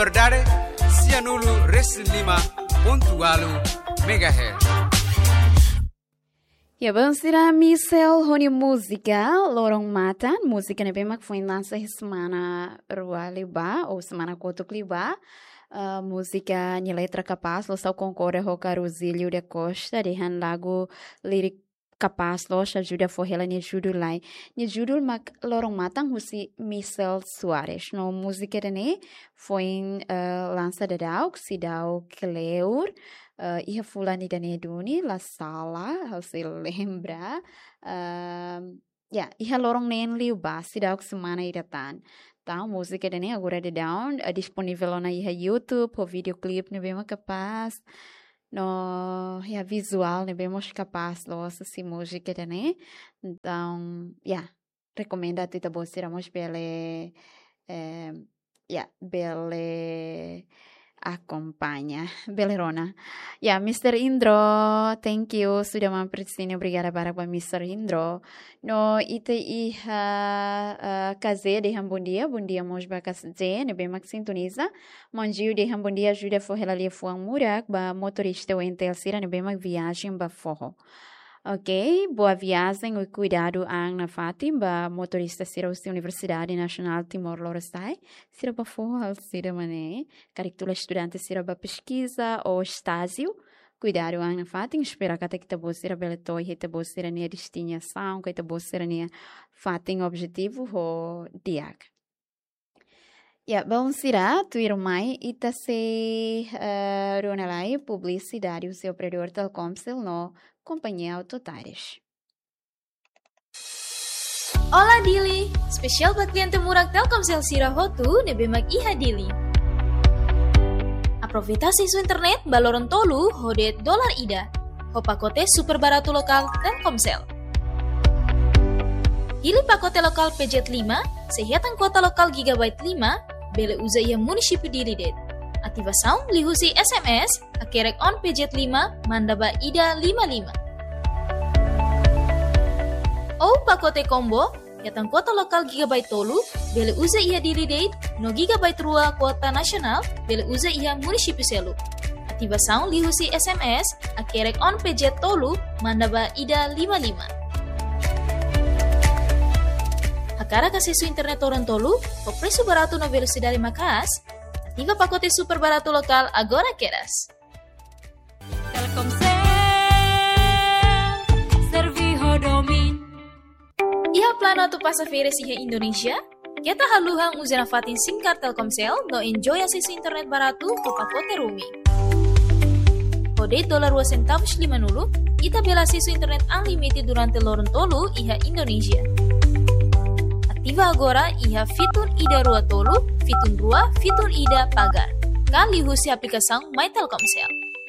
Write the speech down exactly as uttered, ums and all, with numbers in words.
Verdade, sianulu resin lima pontu ualu megahertz. Ya, belun sira, Michelle ho nia múzika Lorong Matan, múzika ne'ebé mak foin lansa iha semana rua liubá, ou semana kotuk liubá. Ah, múzika nia letra kapás, loos, ha'u konkorda ho Carozílio da Costa, dehan lagu lirik kapás loos, ajuda fó hela nia judul lai. Nia judul mak Lorong Matan, husi Michelle Soares. No múzika ida-ne'e foin, eh, lansa daudaun, seidauk kleur, eh, iha fulan ida-ne'e duni, la sala, ha'u sei lembra. Ehm, ya, iha loron neen liubá, seidauk semana ida tan. Entaun, múzika ida-ne'e agora daudaun, eh, disponível ona iha YouTube, ho videoclip ne'ebé mak kapás. No, ya, vizuál ne'ebé mós kapás loos husi múzika ida-ne'e. Entaun, ya, rekomenda atu ita-boot sira mós bele, eh, ya, bele akompaña, bele rona. Ya, Mister Indro, thank you sudah mampir di sini. Obrigada barak ba Mister Indro. No, ita iha, eh, Kazé dehan bondia, bondia mós ba Kazé ne'ebé mak sintoniza. Manjiu dehan bondia, ajuda fó hela liafuan murak ba motorista ONTL sira ne'ebé mak viajen ba foho. Ok, boa viagem i kuidadu an nafatin ba motorista sira husi Universidade Nasionál Timor Lorosa'e. Sira ba foho halo saida mak ne'e, karik tula estudante sira ba peskiza ou estájiu. Kuidadu an nafatin, espera katak ita-boot sira bele to'o iha ita-boot sira-nia destinasaun, ka ita-boot sira-nia fatin objetivu ho di'ak. Ya, belun sira, tuirmai ita sei, eh, rona lai publisidade husi operadór Telkomsel no Companhia Auto Tires. Olá Dili, espesiál ba kliente murak Telkomsel sira hotu ne'ebé mak iha Dili. Aproveita asesu internet ba loron tolu ho de'it dolar ida, ho pakote super baratu lokál Telkomsel. Hili pakote lokál P Z lima, sei hetan kuota lokál gigabyte lima, bele uza iha munisípiu Dili de'it. Ativasaun liuhusi S M S, hakerek on P Z lima, manda ba ida lima lima. Ou pakote combo, hetan kuota lokál gigabyte tolu, bele uza iha Dili de'it, no gigabyte rua kuota nasionál, bele uza iha munisípiu seluk. Ativasaun liuhusi S M S, hakerek on P Z tolu, manda ba ida lima lima. Hakarak asesu internet loron tolu, ho presu baratu no velosidade maka'as, ativa pakote super baratu lokál agora kedas. Telkomsel, serve ho domin. Iha planu atu pasa férias iha Indonézia? Keta haluha uza nafatin SIM card Telkomsel no enjoy asesu internet baratu ho pakote roaming. Ho de'it dolar rua sentavus limanulu, ita bele asesu internet unlimited durante loron tolu iha Indonézia. Ativa agora iha fitun ida rua tolu, fitun rua, fitun ida pagar. Ka liuhusi aplikasaun My Telkomsel.